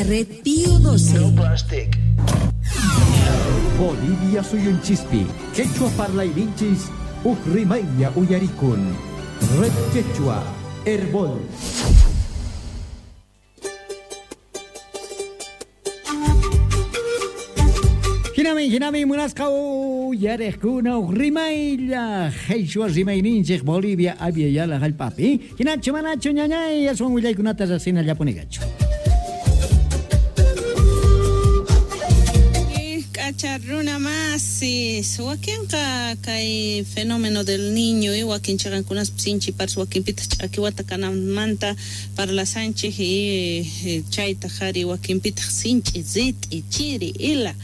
Red Pío 12. No plastic. Bolivia suyunchispi, quechua parlayninchis uj rimaylla uyarikun. Red Quechua, Herbol. Hinami, hinami, munasqa uyariqkuna uj rimaylla qhechua rimayninchik Bolivia Abya Yala hallp'api. Hinachu manachu ñañay aswan willaykunata riqsinallapuniqachu. K'acha runa masis, wakinqa kay fenómeno del niño y wakin chiqankunaspi sinchi paras wakinpitaq ch'aki wata kananmanta parlasanchik y chaytaq ari wakinpitaq sinch'i rit'i chiri ila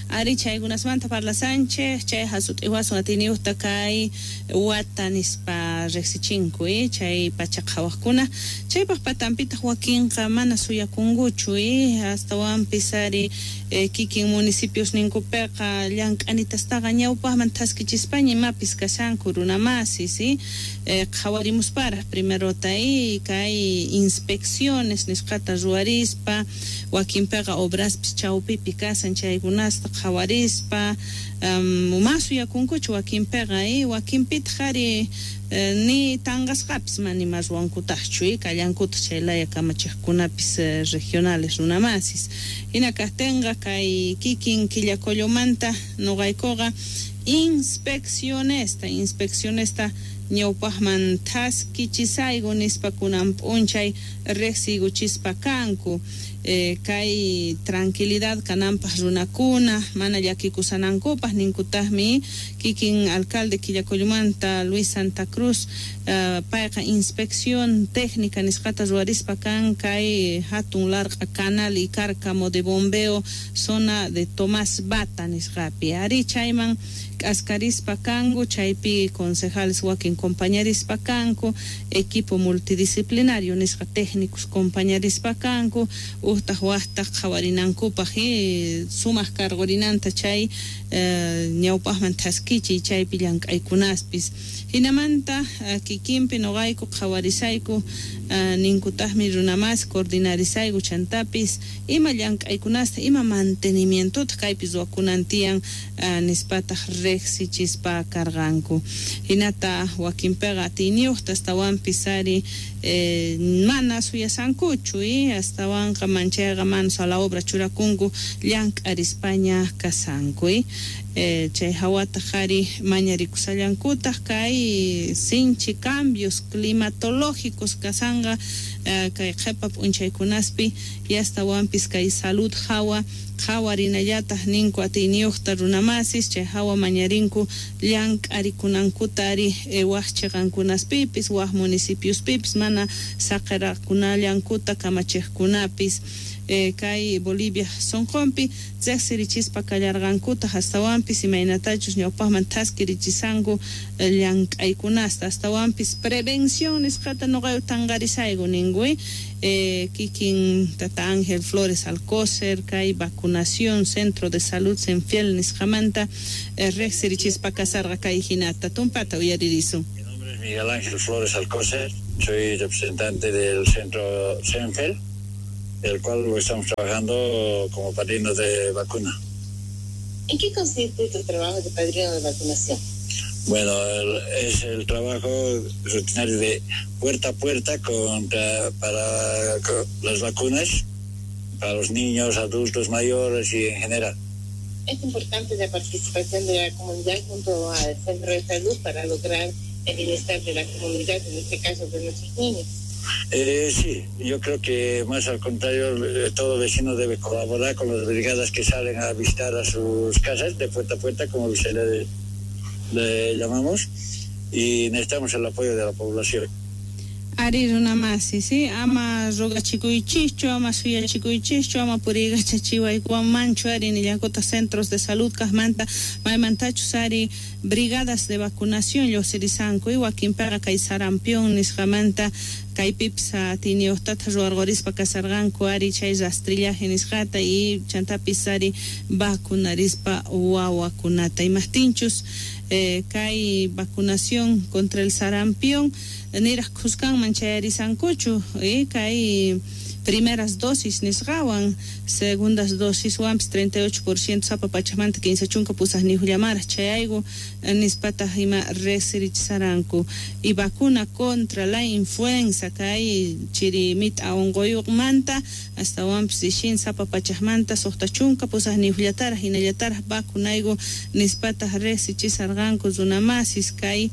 ari chaykunasmanta parlasanchik chay hasut'iwasun atiyniyuqta kay wata nispa riqsichinku chay pacha qhawaqkuna chaypaq patanpitaq wakinqa mana suyakunkuchu astawanpis ari kikin municipios ninkupiqa llank'anitastaqa ñawpaqman thaskichispaña imapis kashanku runa masis qhawarimusparaq primerota kay inspecciones nisqata ruwarispa wakinpiqa obraspis chawpipi kasan chaykunasta qhawarispa ma suyakunkuchu wakinpiqa wakinpitaq ari ni tanqasqapis mana ima ruwankutaqchu kallankutaq chay laya kamachiqkunapis regionales runa masis hina kaqtinqa kay kikin Quillacollomanta nuqaykuqa inspeccionesta ñawpaqman thaskichisayku nispa kunan p'unchay riqsiykuchispa kanku kay tranquilidad kananpaq runakuna mana llakikusanankupaq ninkutaqmi kikin alcalde Quillacollomanta Luis Santa Cruz payqa inspección técnica nisqata ruwarispa kan kay hatun larq'a canal y cárcamo de bombeo zona de Tomás Bata nisqapi ari chayman k'askarispa kanku chaypi concejales wakin compañarispa kanku equipo multidisciplinario nisqa técnicos compañarispa kanku uhtaq waqtaq qhawarinankupaq sumaq cargorinanta chay ñawpaqman thaskichiy chaypi llank'aykunaspis hinamanta kikinpi nuqayku qhawarisayku ninkutaqmi runa mas coordinarisayku chantapis ima llank'aykunasta ima mantenimientota kaypi ruwakunan tiyan nispataq riqsichispa karqanku hinata wakinpiqa atiyniyuqta astawanpis ari mana suyasankuchu astawanqa manchayqa manos a la obra churakunku llank'arispaña kasanku chay hawataq ari mañarikusallankutaq kay sinchi cambios climatológicos kasanqa kay qhipa p'unchaykunaspi y astawanpis kay salud hawa qhawarinallataq ninku atiyniyuqta runa masis chay hawa mañarinku llank'arikunankuta ari waq chiqankunaspipis waq municipiospipis mana saqirakunallankuta kamachiqkunapis kay Bolivia sunqunpi riqsirichispa kallarqankutaq astawanpis imaynatachus ñawpaqman thaskirichisanku llank'aykunasta astawanpis prevención nisqata nuqayku tanqarisayku ninku kikin tata Ángel Flores Alcócer kay vacunación centro de salud Senfiel nisqamanta riqsirichispa kasarqa kay hinata tumpata uyaririsun. Mi nombre es Miguel Ángel Flores Alcócer, soy representante del centro Senfiel, el cual lo estamos trabajando como padrino de vacuna. ¿En qué consiste tu trabajo de padrino de vacunación? Bueno, es el trabajo rutinario de puerta a puerta para las vacunas, para los niños, adultos mayores y en general. Es importante la participación de la comunidad junto al centro de salud para lograr el bienestar de la comunidad, en este caso de nuestros niños. Sí, yo creo que más al contrario, todo vecino debe colaborar con las brigadas que salen a visitar a sus casas de puerta a puerta, como se le llamamos, y necesitamos el apoyo de la población. Ari runa masi, sí, ama rogachikuychischu, ama suyachikuychischu, ama puriykachachiwaykuwanmanchu ari nillankuta centros de salud kaqmanta maymantachus ari brigadas de vacunación lluqsirisanku y wakinpiqa kay sarampión nisqamanta kaypipis atiyniyuqtata ruwarqurispa kasarqanku ari chay rastrillaje nisqata y chantapis ari vacunarispa wawakunata imaqtinchus kay vacunación contra el sarampión niraq khuskanman chayarisankuchu kay Primeras dosis nisqawan, segundas dosiswanpis 38% sapa pachajmanta 38llamaraj chayayku nispataj ima riqsirichisaranku. Y vacuna contra la influenza kay chiri mit'a unquyuqmanta astawanpis rishin sapa pachajmanta 68llataraj hinallataraj vacunayku nispataj riqsichisarqanku runamasis kay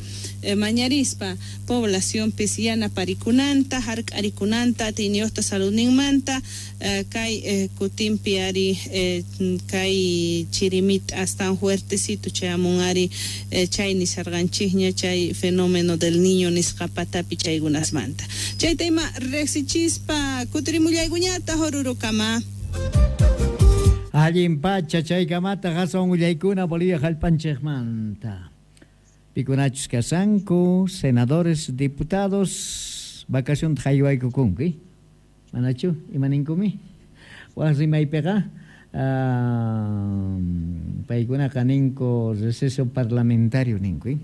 mañarispa poblacionpis yanaparikunanta hark'arikunanta atiyniyuqta saludninmanta kay kutinpi ari kay chirimita astawan fuertecito chayamun ari chay nisarqanchikña chay fenómeno del niño nisqa patapi chaykunasmanta chayta ima riqsichispa kutirimullaykuñataq Orurokama. Allin pacha chaykamata aswan willaykuna Bolivia hallp'anchikmanta. Pikunachus kasanku senadores, diputados vacacionta haywaykukunku, manachu imaninkumi? Waj rimaypiqa paykunaqa ninku receso parlamentario ninku.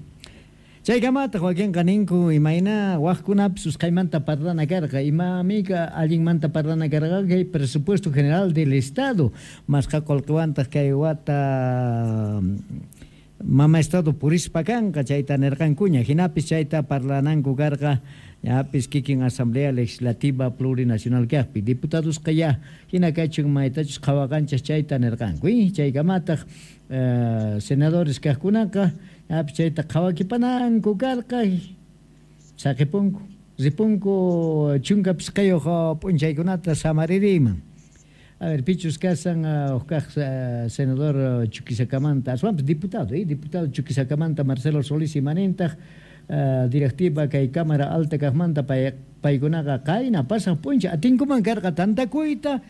Chaykamataq wakinqa ninku imayna wajkunapis usqhaymanta parlana karqa, imamika allinmanta parlana karqa kay presupuesto general del Estado masqa qullqiwantaq kay wata mama Estado purispa kanqa chayta nirqankuña, hinapis chayta parlananku karqa ñapis kikin Asamblea Legislativa Plurinacional kaqpi diputadosqa ya hina kachun maytachus qhawaqanchis chayta nirqanku. Chaykamataq senadores kaqkunaqa ñapis chayta qhawakipananku karqa saqipunku ripunku 15 p'unchaykunata samaririyman. A ver, pichus kasan huk senador Chuquisakamanta, aswanpis diputado, diputado Chuquisakamanta Marcelo Solís imanintaq directiva kay Cámara Alta kaqmanta paykunaqa qayna pasaq p'unchay atinkuman karqa tantakuyta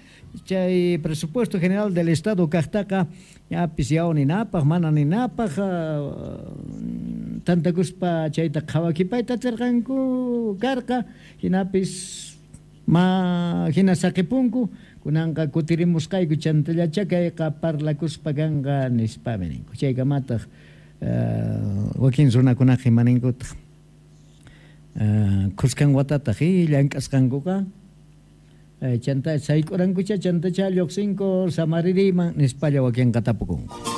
chay presupuesto general del Estado kaqtaqa ñapis yaw ninapaq mana ninapaq tantakuspa chayta qhawakipayta atirqanku karqa hinapis ma hina saqipunku kunanqa kutirimusqayku chantallacha kayqa parlakuspa kanqa nispami ninku. Chaykamataq wakin runakunaqa imaninkutaq khuskan watataq llank'asqankuqa chanta sayk'urankucha chantacha lluqsinku samaririyman nispalla wakinqa tapukunku.